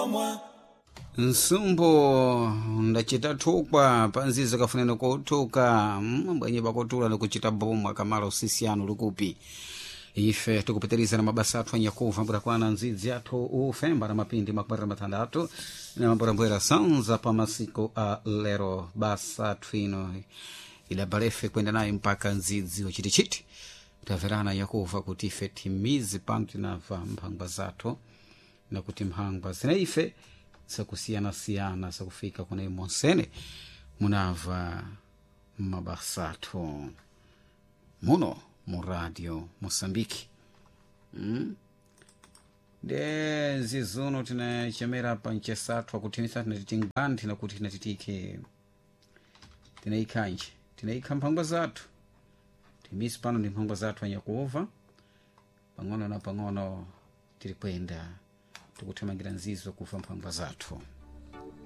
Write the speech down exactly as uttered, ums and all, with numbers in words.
bomwa. Nsumbu ndacita thukwa panzizo kafunene kothuka mm, bwenye pakotula nikucita bomwa kamala usisiyano likupi. Ife tikupitiriza na mabasa athu anyakuva mbura nzidzi athu ufemba na mapindi makubarira mathandatu na mambwerambwera sanza pa masiku a lero. Basa athu ino idabalefe kwenda naye mpaka nzidzi wachitichiti. Tamverana yakuva kuti ife timizi pano tinamva mphangwa zathu nakuti mphangwa zina ife zakusiyanasiyana zakufika kuna monsene munamva mabasa athu muno mu Radio Moçambique. mm? De zizuno tinachemera pa mchesathu akuthimisa tinatiti ngwanthi nakuti tinatitike tinaikhanji tinaikha mphangwa zathu timisi pano ndi mphangwa zathu anyakuova pang'ono na pang'ono tiri kwenda tikuthamangira nzizo kufa mphangwa zathu.